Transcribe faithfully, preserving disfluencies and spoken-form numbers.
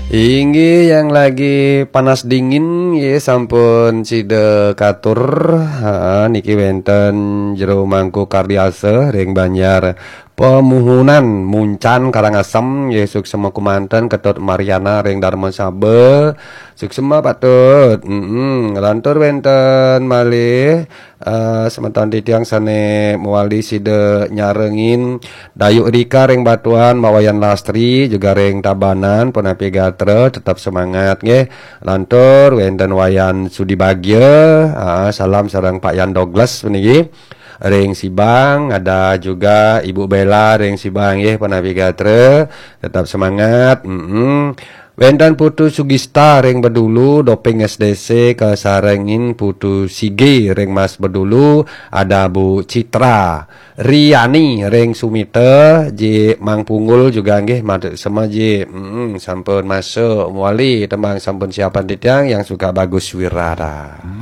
Inggih, yang lagi panas dingin, nggih, sampun sida katur. Ha, niki wénten Jero Mangku Kardiasa ring Banjar Pemuhunan, Muncan, Karangasem, nggih, suksema kumanten. Ketut Mariana ring Darmasaba, suksema patut. Mm-mm. Lantur wénten malih, eh, semeton titiang sané mawali sida nyarengin Dayuk Rika ring Batuan, Mak Wayan Lastri juga ring Tabanan, punapi gatra, tetap semangat nggih. Lantur wénten Wayan Sudi Bagia, ah, salam sareng Pak Yan Douglas puniki. Ring Sibang, ada juga Ibu Bella ring Sibang nggih, punapi gatra, tetap semangat. Mm-mm. Wénten Putu Sugista ring Bedulu, Doping S D C, kasarengin Putu Sige ring Mas Bedulu, ada Bu Citra Riani ring Sumita, Ji Mang Punggul juga nggih, matur sema Ji. Mm-mm, sampun masuk mawali tembang sampun siapan titiang, Yang Suka Bagus Wirata.